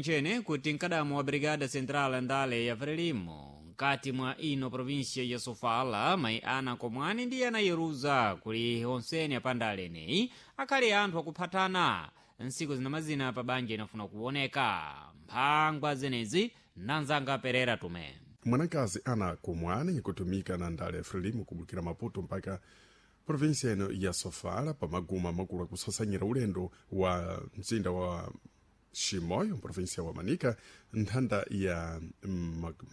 Nchene kuti mkadamo wa Brigada Central ndale ya Frelimo mkati mwa ino provinsia ya Sofala mayi ana komwani ndi ana yeruza kuli onseni apandale eneyi akhale anthu akuphatana nsiku zinamazina pa banja inafuna kuoneka mphangwa zenezi nanzanga Perera Tume. Mwanakazi ana komwani ikutumika na ndale ya Frelimo kubukira Maputo mpaka provinsia ino ya Sofala pamaguma makulu akusasanyira ulendo wa mzinda wa Shimoyo provinsia wa Manika nthanda ya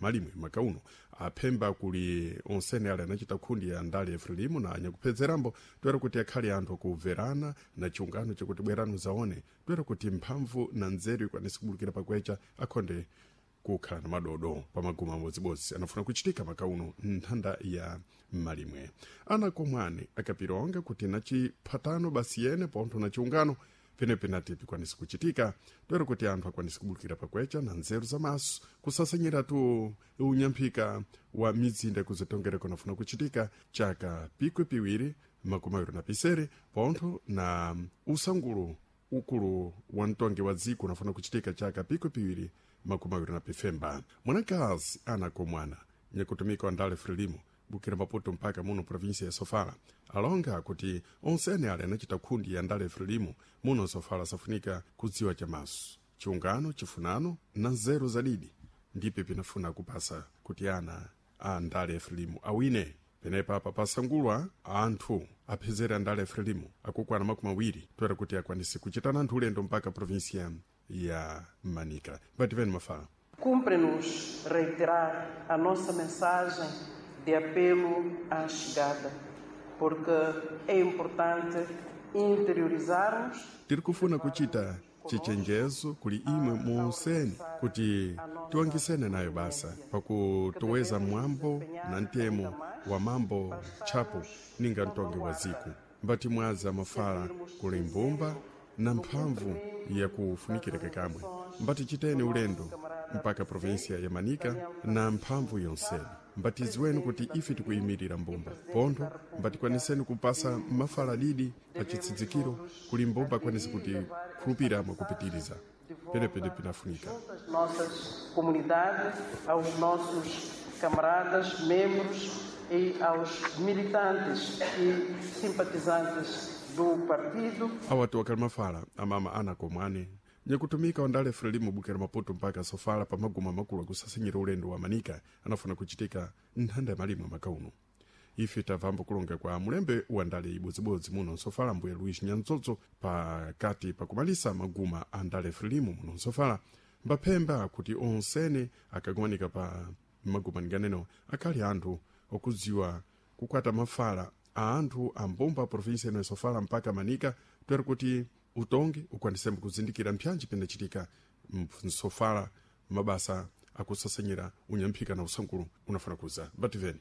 malimwe makauno aphemba kuli onsene ale anachita khundi ya ndale ya Frelimo na anyakuphezerambo toera kuti akhale anthu akuverana na chiungano chakuti bwerano zaone toera kuti mphamvu na nzeru ikwanise kubulukira pakwecha akhonde kukhala na madodo pamaguma amodzibodzi anafuna kuchitika makauno nthanda ya malimwe. Ana komwani akapilonga kuti na chiphatano basi yene pontho na chiungano penepenati pikwanise kuchitika toera kuti anthu akwanise kubulukira pakwecha na nzeru za maso kusasanyira tu unyamphika wa mizinda kuzitongereko nafuna kuchitika chaka pikwe piwiri 27 pontho na usangulu ukulu wa mtongi wa dziko unafuna kuchitika chaka pikwe piwiri 25. Mwanakazi ana komwana nyakutumika wa ndale Frelimo bukira Maputo mpaka muno provinsia ya Sofala alonga kuti onsene ale anachita khundi ya ndale Frelimo muno Sofala safunika kudziwa chamaso chiungano chifunano na nzeru zadidi ndipe pinafuna kupasa kuti ana a ndale ya Frelimo awine. Penepa apa pasangulwa anthu aphezera andale ya Frelimo akukwana 20 toera kuti akwanise kuchitana anthu ulendo mpaka provinsia ya Manica. Mbativeni mafala. Cumpre-nos reiterar a nossa mensagem de apelo à chegada, porque é importante interiorizarmos. Tiri kufuna kuchita chichenjezo kuli imwe monseni kuti tiwangisene nayo basa pakutoweza mwambo na ntemo wa mambo tchapo ninga mtongi wa ziku mbati mwaza mafala kuli mbumba na mphamvu yakufunikira kakamwe mbati chiteni ulendo mpaka provinsia ya Manika na mphamvu yonseni mbatiziweni kuti ife tikuyimirira mbumba pontho mbatikwaniseni kupasa mafala didi pa chitsidzikiro kuli mbumba akwanise kuti khulupira mwakupitiriza penepene pinafunika. Às nossas comunidades, aos nossos camaradas, membros e aos militantes e simpatizantes do partido. Awatu wakali mafala amama ana komwane nyakutumika wandale Frelimo bukira Maputo mpaka Sofala pamaguma makulu akusasanyira ulendo wa Manika anafuna kuchitika nthanda ya malimwe makauno. Ife tamvambo kulonga kwa mulembe wa ndale ibodzibodzi muno Sofala mbuye Luis Nyanzozo pakati pakumalisa maguma a ndale Frelimo muno Sofala mbaphemba kuti onsene akagumanika pa maguma ninganeno akhali anthu okudziwa kukwata mafala a anthu a mbumba provinsia ino ya Sofala mpaka Manika toera kuti utongi ukwanisembe kuzindikira mpyanji pinachitika msofala mabasa akusasanyira unyamphika na usankulu unafuna kuza mbativeni.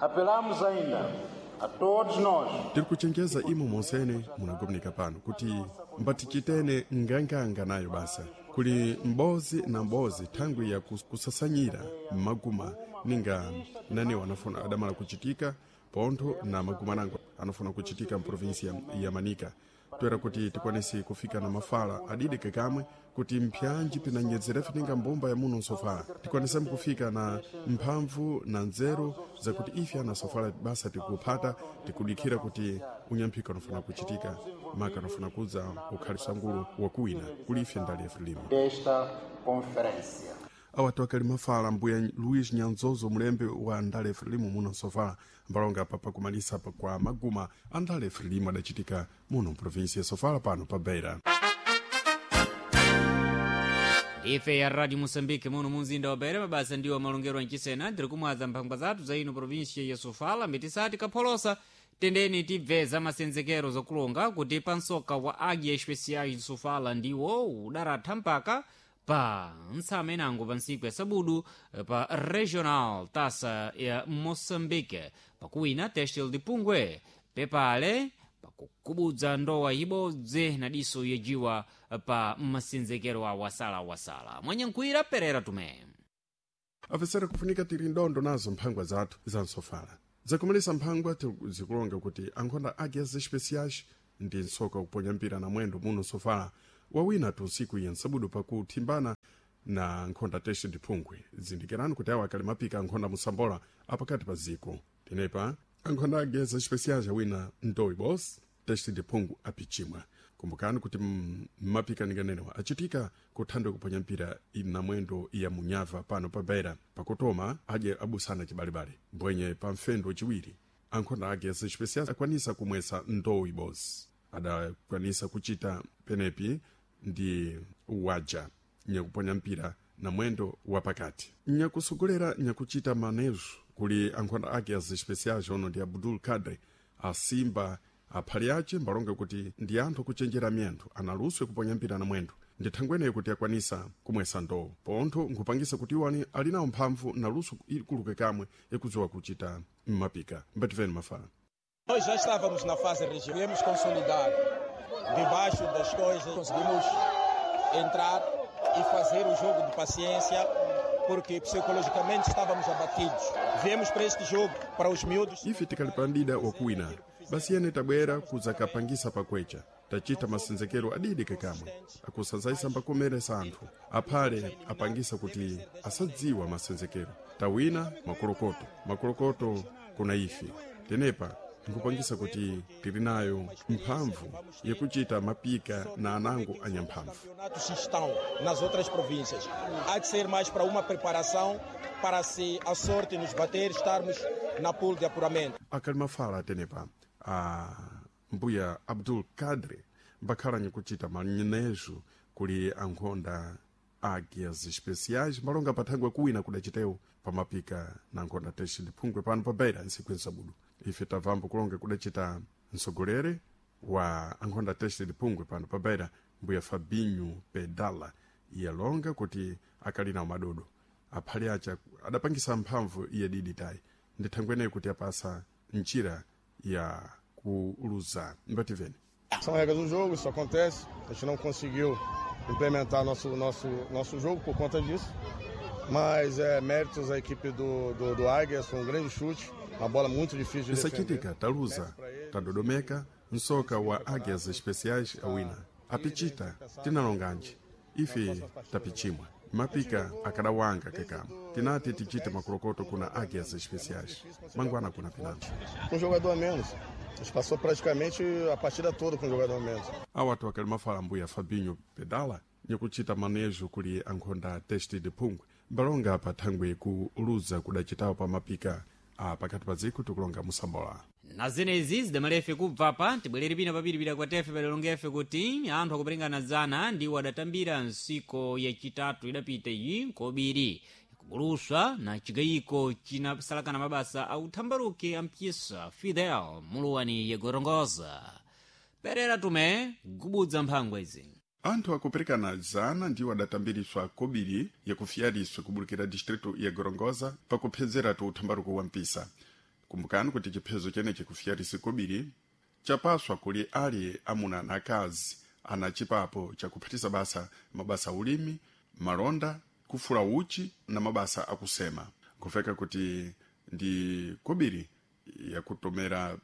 Apelamos ainda a todos nós. Tiri kuchenjeza imo monsene munagomanika pano kuti mbatichitene nganganga nayo basa kuli mbozi na mbozi thangwi ya kusasanyira maguma ninga nanewo anafuna adamala kuchitika pontho na maguma nango anafuna kuchitika mprovinsia ya Manika toera kuti tikwanise kufika na mafala adidi kakamwe kuti mpyanji pinanyedzerefe ninga mbumba ya muno Sofala tikwanisemu kufika na mphamvu na nzeru zakuti ife ana Sofala basa tikuphata tikudikhira kuti unyamphika unafuna kuchitika maka unafuna kudza ukhali sangulu wakuwina kuli ife ndale ya Frelimo. Desta conferência. Awatu akali mafala mbuya Luis Nyanzozo mulembe wa ndale Frelimo muno Sofala mbalonga apa pakumalisa pa kwa maguma a ndale Frelimo adachitika muno mprovinsia ya Sofala pano pa Beira. Ife ya Radio Moçambique muno munzinda wa Beira mabasa ndiwo malongero anchisena ndiri kumwaza mphangwa zathu za ino provinsia ya Sofala mitisati kapholosa tendeni tibve za masenzekero zakulonga kuti pansoka wa Águia Especiais de Sofala ndiwo udaratha mpaka pa ntsamenango pa ntsiku ya sabudu pa Regional Taça ya Moçambique pakuwina Têxtil de Pungwe pepale pakukubudza ndowa ibodzi na diso yejiwa pa masenzekero a wasalawasala mwanyankhwira Perera Tume. Afesera kufunika tili ndondo nazo mphangwa zathu za nsofala zakumalisa mphangwa zikulonga kuti ankhonda Águias Especiais ndi nsoka kuponya mpira na mwendo muno Sofala wawina tu ntsiku ya nsabudu pakuthimbana Na nkhonda teste ndiphungwe zindikirani kuti awo akali mapika ankhonda musambola apakati pa ziko. Tenepa ankhonda ageza especiais awina ndowi bos teste ndiphungu apichimwa. Kumbukani kuti mapika ninganenewa achitika kuthandwe kuponya mpira na mwendo ya munyava pano pa Beira pakutoma aje abusana chibalebale mbwenye pa mfendo chiwiri ankhonda ageza especiais akwanisa kumwesa ndowi bos adakwanisa kuchita penepi ndi waja nyakuponya mpira na mwendo wapakati. Nyakusogolera nyakuchita manejo kuli ankhonda ake as especiais ono ndi Abdul Kadre asimba aphali ace mbalonge kuti ndi anthu akuchenjera miyendo analuswe kuponya mpira na mwendo ndi thangweneyo kuti akwanisa kumwesa ndowo pontho nkhupangisa kuti iwo ali nawo mphamvu na luso ikuluke kamwe ikudziwa kuchita mmapika. Mbativeni mafala. Nós já estávamos na fase regional, viemos consolidar debaixo das coisas, conseguimos entrar e fazer o jogo de paciência, porque psicologicamente estávamos abatidos. Viemos para este jogo, para os miúdos. Ife tikalipandida wakuwina basi yene tabwera kuzakapangisa pakwecha tachita masenzekero adidi kekamwe akusazaisa mbakomeresa anthu aphale apangisa kuti asadziwa masenzekero. Tawina makolokoto makolokoto kuna ife tenepa nkupangisa kuti tili nayo mphamvu yakuchita mapika na anango anyamphamvu. Campeonatos estão nas outras províncias. Há de ser mais para uma preparação para se a sorte nos bater, estarmos na pool de apuramento. Akali mafala tenepa a mbuya Abdul Kadre mbakhala nyakuchita manejo kuli ankhonda agias especiais malonga pathangwe kuwina kudachitewo pamapika na nkhonda teste ndiphungwe pano pa Beira ntsiku nsabudu. Ife tabvambo kulonga kudachita msogolere wa ankhonda teste ndiphungwe pano pa Beira mbuya Fabinho Pedala iyalonga kuti akali nawo madodo aphali acha adapangisa mphamvu iye didi tayi ndi thangweneyo kuti apasa njira ya kuluza. Mbativeni. São regras do jogo, isso acontece. A gente não conseguiu implementar nosso jogo por conta disso. Mas méritos à equipe do Águias, foi um grande chute, uma bola muito difícil de defender. Isachitika taluza tadodomeka msoka wa Águias Especiais awina apichita tinalonganji ife tapichimwa mapika akadawanga kekama tinati tichite makolokoto kuna Águias Especiais mangwana kuna pinango. Com um jogador a menos. A gente passou praticamente a partida toda com um jogador a menos. Awatu akali mafala mbuya Fabinho Pedala nyakuchita manejo kuli ankhonda teste de phungwe mbalonga pathangwe kuluza kudachitawo pa mapika a pakati pa dziko tikulonga musambola. Na zenezi zidamalefe kubva pa tibwerere pina papiripira kwa tefe padalongefe kuti anthu akuperekana zana ndiwo adatambira ntsiko yachitatu idapita iyi kobiri kubuluswa na chigayiko chinasalakana mabasa a uthambaruke ampyisa Fidel muluwani yegorongoza perera tume gubudza mphangwa izi. Anthu akuperekana zana ndiwo adatambiriswa kobiri yakufiyariswa kubulukira distritu ya Gorongosa pakuphezeratu uthambaruko wa mpisa. Kumbukani kuti chiphezo chenechi kufiyarisi kobiri chapaswa kuli ali amuna na akazi ana chipapo chakuphatisa basa mabasa ulimi malonda kufula uchi na mabasa akusema. Nkufeka kuti ndi kobiri yakutomera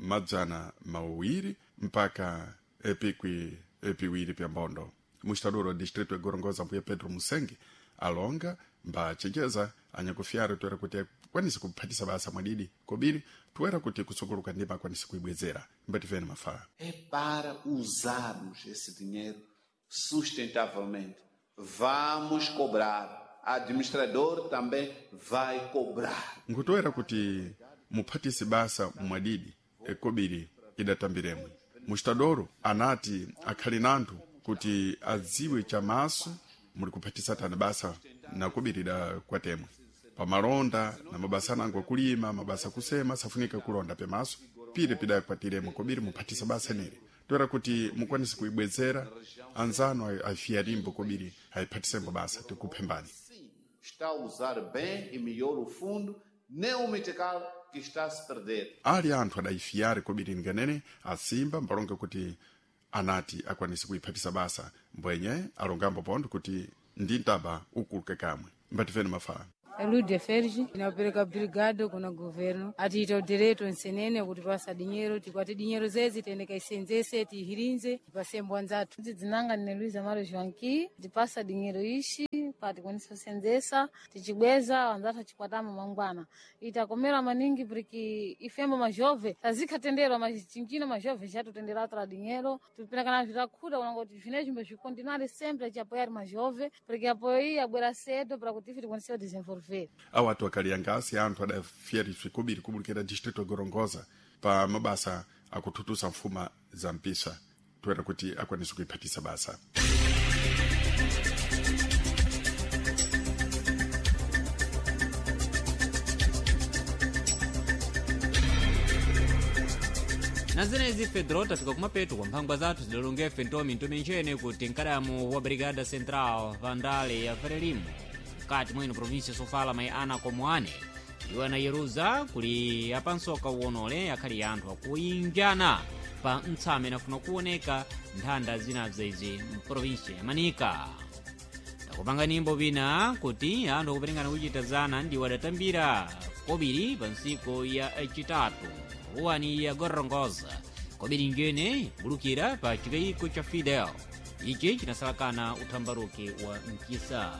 200 mpaka epikwi epiwiri pya mbondo. Mustaduro wa distrito ya Gorongosa mbuya Pedro Musenge alonga mbachenjeza anyakufyara toera kuti akwanise kuphatisa basa mwadidi kobiri toera kuti kusukuluka ndima akwanise kuibwezera. Mbativeni mafala. É para usarmos esse dinheiro sustentavelmente. Vamos cobrar. Administrador também vai cobrar. Nkutoera kuti muphatise basa mwadidi ekobiri idatambiremwe. Mustadoro anati akhali nanthu kuti adziwe chamaso muli kuphatisa tani basa na kobiri da kwatemwe pamalonda na mabasa anango akulima mabasa akusema safunika kulonda pemaso pire pidakwatiremwe kobiri muphatisa basa nere toera kuti mukwanise kuibwezera anzano afiyarimbo kobiri ayiphathisembo basa tikuphembani. Está a usar bem e melhor o fundo, nem o metical que está a se perder. Ali anthu adayifiyare kobiri nganene asimba mbalonga kuti anati akwanise kuiphatisa basa mbwenye alongambo pontho kuti ndi ntaba ukuluke kamwe. Mbativeni mafala. Lude Fergi inapereka brigado kuna governo atiita udireto nsenene kuti pasa dinyero tikwate dinyero zezi tiende kaisenzese tihirinze tipase mbwa nzathu. Dzinanga ndine Luiza Maro Joanqui tipasa dinyero ishi pa soka tikwanise kusenzesa tichibweza wanzathu achikwatama mangwana itakomera maningi porque ifembo majove tazikhatenderwa machinjino majove chatutendera atra dinheiro tupinakana vitakhuta kunanga kuti vinecho mbazvikontinare sempre achiapoyari majove porque apoyo iyi abwera cedo para kuti ife tikwanise kudesenvolver. Awo atu akaliyangasi anthu adafyeriswe kobiri kubulukira distrito ya Gorongosa pa mabasa akuthuthusa mfuma za mpisa toera kuti akwanise kuiphatisa basa. Na zenezi Fedro tafika kumapeto kwa mphangwa zathu zidalongefe ntomi ntomi nchene kuti mkadamu wa Brigada Central vandale ya Frelimo mkati mwino provinsia Sofala mai ana Komwane iwo anayeruza kuli apansoka uwonole akhali anthu akuyinjana pa mtsame nafuna kuoneka nthanda zinabza izi mprovinsia ya Manika. Takupanga nimbo pina kuti anthu akuperekana kuchita zana ndiwo adatambira kobiri pa ntsiku ya chitatu ruwani ya Gorongosa kobiri njene bulukira pa chikayiko cha Fidel ichi chinasalakana uthambaruki wa mkisa.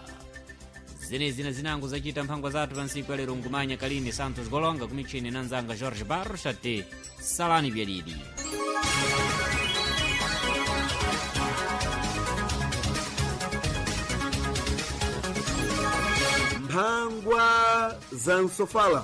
Zenezi na zinango zachita mphangwa zathu pa ntsiku ya lero ngumanya Kalini Santos Golonga kumichini na nzanga Jorge Barros ati salani byadidi. Mphangwa za Nsofala.